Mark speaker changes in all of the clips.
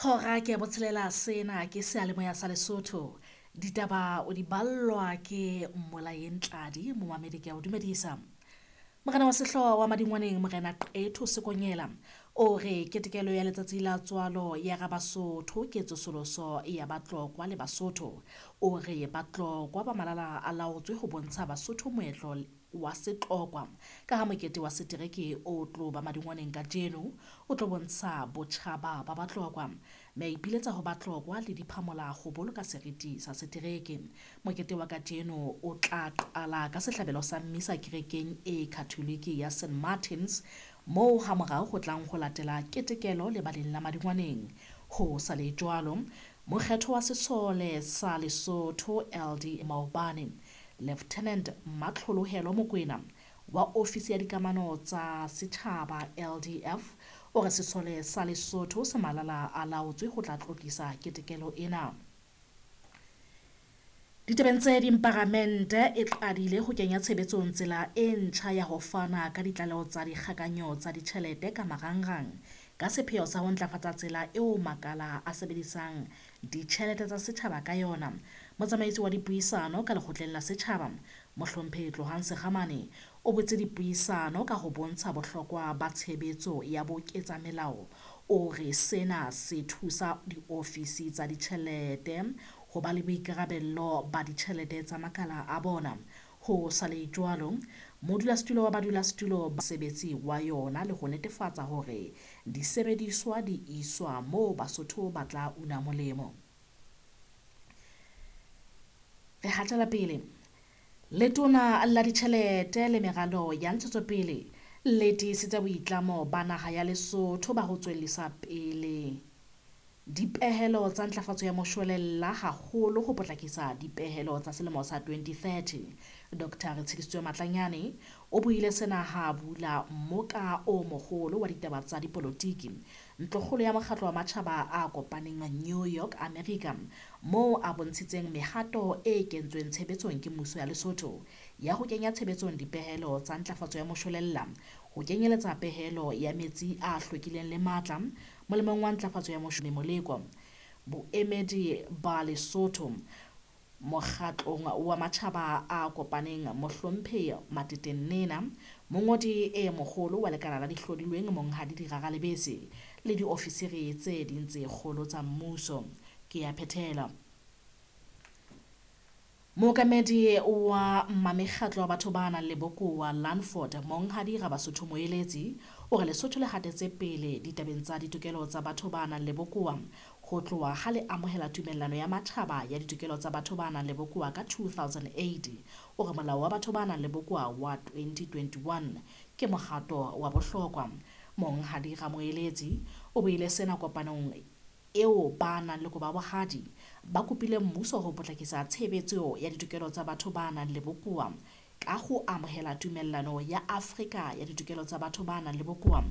Speaker 1: Hora ke ya botshelela, sena ke seyalemoya sa Lesotho. Ditaba o di ballwa ke Mmolaeng Tladi, momamedi ke a o dumedisa. Morena wa sehlooho wa Madingwaneng Morena Qetho Sekonyela o re ketekelo ya letsatsi la tswalo ya Rabasotho ke tsosoloso ya Batlokwa le Basotho. O re Batlokwa ba malala a laotswe ho bontsha Basotho moetlo wa Setlokwa ka ha mokete wa setereke o tlo ba Madingwaneng kajeno o tlo bontsha botjhaba ba Batlokwa, mme a ipiletsa ho Batlokwa le diphamola ho boloka seriti sa setereke. Mokete wa kajeno o tla qala ka sehlabelo sa mmisa kerekeng e Katholike ya St Martins, moo hamorao ho tlang ho latela ketekelo lebaleng la Madingwaneng. Ho sa le jwalo, mokgetho wa sesole sa Lesotho LD maobane, Lieutenant Matlholohelo Mokoena wa ofisi ya dikamano tsa setjhaba LDF o re sesole sa Lesotho se malala a laotswe ho tla tlotlisa ketekelo ena. Ditabeng tse ding, paramente e qadile ho kenya tshebetsong tsela e ntjha ya ho fana ka ditlaleho tsa dikgakanyo tsa ditjhelete ka marangrang ka sepheo sa ho ntlafatsa tsela eo makala a sebedisang ditjhelete tsa setjhaba ka yona. Motsamaisi wa dipuisano ka lekgotleng la setjhaba, Mohlomphehi Tlohang Sekgamane, o botse dipuisano ka ho bontsha bohlokwa ba tshebetso ya boketsamelao. O re sena se thusa diofisi tsa ditjhelete ho ba le boikarabello ba ditjhelete tsa makala a bona. Ho sa le jwalo, modulasetulo wa badulasetulo ba sebetsi wa yona le ho netefatsa hore disebediswa di iswa moo Basotho ba tla una molemo. Re hatela pele. Letona la ditjhelete le meralo ya ntshetsopele le tiisitse boitlamo ba naha ya Lesotho ba ho tswellisa pele dipehelo tsa ntlafatso ya moshwelella, haholo ho potlakisa dipehelo tsa selemo sa 2030. Dr Retshidisitswe Matlanyane o buile sena ha a bula mmoka o moholo wa ditaba tsa dipolotiki ntlokgolo ya mokgatlo wa matjhaba a kopaneng New York, America, moo a bontshitseng mehato e kentsweng tshebetsong ke mmuso ya Lesotho ya ho kenya tshebetsong dipehelo tsa ntlafatso ya moshwelella, ho kenyeletsa pehelo ya metsi a hlwekileng le matla molemong wa ntlafatso ya moleko. Boemedi ba Lesotho mokgatlong wa matjhaba a kopaneng Mohlomphehi Matete Nena, mongodi e moholo wa lekala la dihlodilweng Monghadi Dirara Lebese le diofisiri tse ding tse kgolo tsa mmuso. Ke ya phethela. Mookamedi wa Mamekgatlo wa batho ba nang le bokowa Lanford Monghadi Rabasotho Moeletsi o re Lesotho le hatetse pele ditabeng tsa ditokelo tsa batho ba nang le bokowa ho tloha ha le amohela tumellano ya matjhaba ya ditokelo tsa batho ba nang le bokowa ka 2008. O re molao wa batho ba nang le bokowa wa 2021 ke mohato wa bohlokwa. Monghadi Ramoeletsi o buile sena kopanong eo ba nang le koba bohadi ba kopile mmuso ho potlakisa tshebetso ya ditokelo tsa batho ba nang le bokowa ka ho amohela tumellano ya Afrika ya ditokelo tsa batho ba nang le bokowa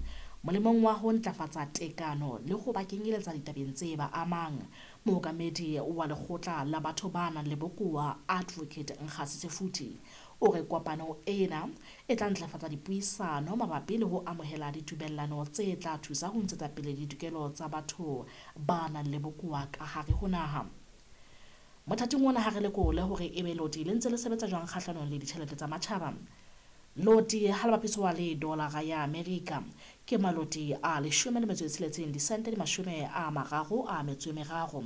Speaker 1: molemong wa ho ntlafatsa tekano le ho ba kenyeletsa ditabeng tse ba amang. Mookamedi wa lekgotla la batho ba nang le bokowa Advocate Nkgasi Sefuthi o re kopano ena e tla ntlafatsa dipuisano mabapi le ho amohela ditumellano tse tla thusa ho ntshetsa pele ditokelo tsa batho ba nang le bokowa ka hare ho naha. Mothating ona ha re lekole hore ebe loti le ntse le sebetsa jwang kgahlanong le ditjhelete tsa matjhaba. Loti ha le bapiswa le dolara ya Amerika ke maloti a 16 disente di 33.